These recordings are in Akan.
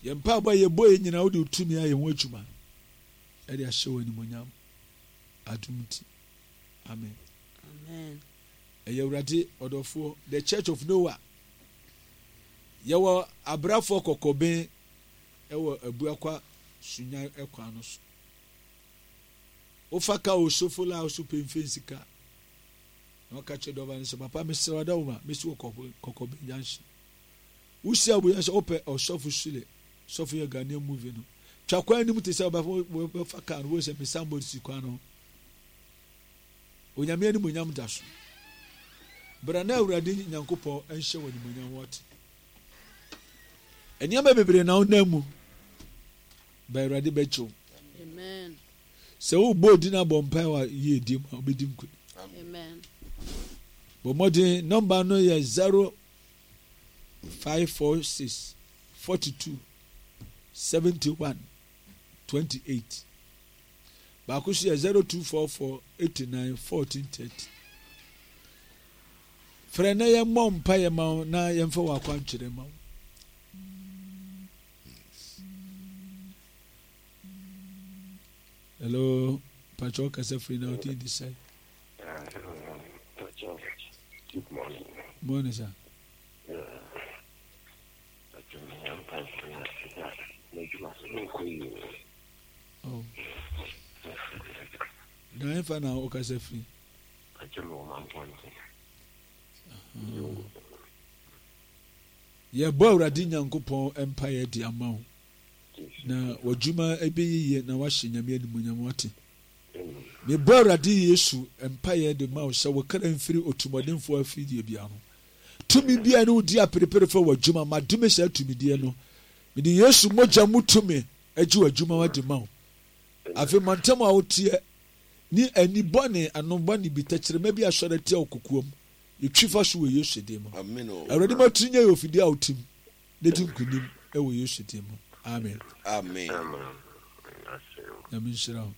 Yɛn mpaebɔ a yɛbɔ yɛ nyinaa wode wo tumi ayɛ ho adwuma ɛde ahyɛ wo animonyam adom nti. Amen. Amen. Ɛyɛ Awurade ɔdɔfoɔ, The Church of Noah. Yɛwɔ abrafoɔ kɔkɔben ɛwɔ Abuakwa Sunyani ɛkwan no so. Wofa ka osofo la so pemfe nsika. Na ɔka kyerɛ dɔba no sɛ, papa mesrɛ wadawoma, mesi wɔ kɔkɔben junction. Wosi abu yɛ sɛ wopɛ ɔsɔfo Sule, sɔfo yɛ Ghanaian movie no. Twa kwan anim te sɛ wobɛfa kaa no, wohu sɛ me signboard si kwan no ho. Onyame animuonyam da so. Bra na Awurade Nyankopɔn nhyɛ wo animuonyam wate. Nneɛma bebree na wonam mu. Ba Awurade bɛgye wo. Amen. Sɛ wobɔ odin abɔ mpae wɔ yiedie mu a wobɛdi nkonim. Amen. Bɔ mmɔden nɔmba no yɛ 0546 42 71 28. Baako nso yɛ 0244 89 14 30. Frɛ na yɛmmɔ mpaeɛ ma wo na yɛmfa wɔ akwankyerɛ ma wo. Hello, Pacho kasa firi na wodin de sɛn? Good morning. Morning, sir. Oh. Na ɛmfa na wokasa firi? Yɛbɔ Awurade Nyankopɔn mpaeɛ de ama wo na w'adwuma ɛbɛyɛ yie na wahyɛ Nyame animuonyam wate. Mebɔ Awurade Yesu mpaeɛ de ma wo sɛ wo kra mfiri otumɔdenfoɔ afidie biara ho. Tumi biara ne wodi aperepere fa w'adwuma, madome saa tumideɛ no. Mede Yesu mogya mu tumi agye w'adwuma de ma wo. Afei mantam a woteɛ ne ani bɔne, ano bɔne bi, tɛkyerɛma bi asɔre atia wo kokoam. Yɛtwi fa so wɔ Yesu din mu. Awurade ma tiri nyɛ yɛ ofidie a wotim na di nkonim wɔ Yesu din mu. Amen. Amen. Nyame nhyira wo.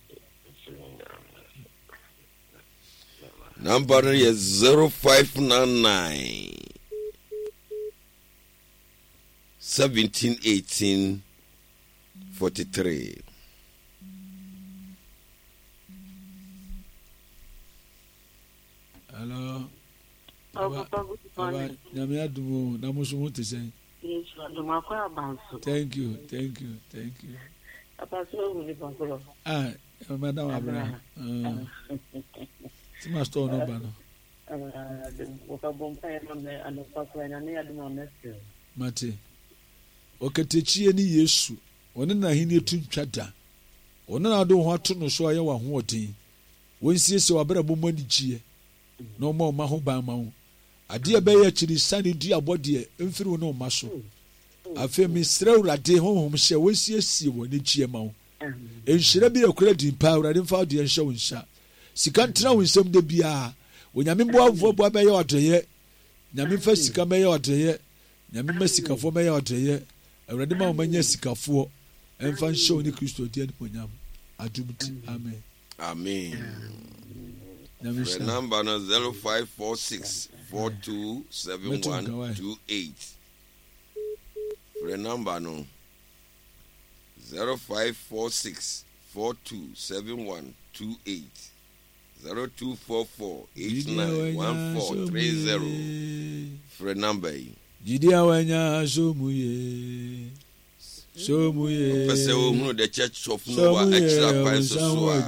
Number no yɛ 0599 17 18 43. Hello. Aba, aba, nyame adum o, na mo so mo te sɛn? Yesu adum akɔ abanso. Thank you, thank you, thank you. Papa so ehu nipa korɔ. Ah, madam Abraham. Ah. Ti ma store no ba no. Mate. Ɔkatakyie ne Yesu. Ɔne n'ahenni to ntwa da. Ɔno na wode wo ho ato no so ayɛ w'ahoɔden. Wɔnsiesie w'abrabɔ mu anigyeɛ na ɔmmɔ wo mma ho ban ma wo. Adeɛ a ɛbɛyɛ akyirisan duabɔ deɛ mfiri wo ne wo mma so. Afei mesrɛ Awurade honhom sɛ wɔnsiesie wɔ anigyeɛ ma wo. Nhyira bi akura din paa Awurade mfa wo deɛ nhyɛ wo nsa. Sika ntena wo nsam da biara. Onyame boafoɔ boa bɛyɛ ɔdɔyɛ. Nyame mfa sika mɛyɛ ɔdɔyɛ. Nyame mma sikafoɔ mɛyɛ ɔdɔyɛ. Awurade ma wɔn nyɛ sikafoɔ. Ɛmfa nhyɛ wo ne Kristo di animuonyam. Adom nti. Amen. Amen. Frɛ number no 0546 427128. Frɛ number no 0546 427128. 0244 891430. Frɛ number yi. Gyidi a wanya so mu ye. So mu ye. Wopɛ sɛ wohunu The Church of Noah akyiri akwan so so a,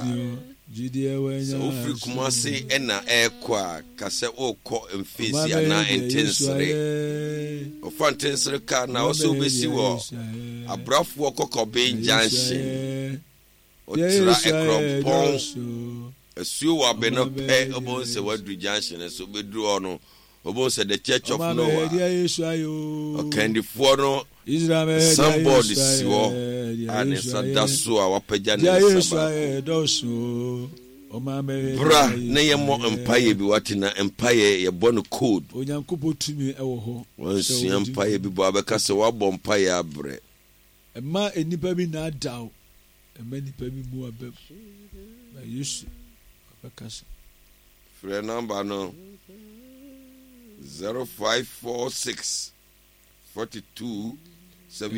sɛ wofiri Kumase na ɛrekɔ a, ka sɛ worekɔ Mfeesi anaa Ntensere. Ɔfa Ntensere kaa na ɔsɛ wobɛsi wɔ Abrafoɔ Kɔkɔben Junction. Ɔtra Ɛkorɔmpɔn Asuo wɔ abɛ no pɛ, wobɛhu sɛ woaduru junction no so. Wobɛduru hɔ no, wobɛhu sɛ The Church of Noah, ɔkandifoɔ no signboard si hɔ a ne nsa da so a wapagya ne nsa baako. Bra na yɛmmɔ mpaeɛ bi wate na mpaeɛ yɛbɔ no code. Onyankopɔn tumi wɔ hɔ. Wansua mpaeɛ bi bɔ abɛka sɛ woabɔ mpaeɛ abrɛ. Mma nnipa bi nnaadaa wo. Mma nnipa bi mmu w'abam. Na Yesu ɔbɛkasa. Frɛ nɔmba no 0546 42 7.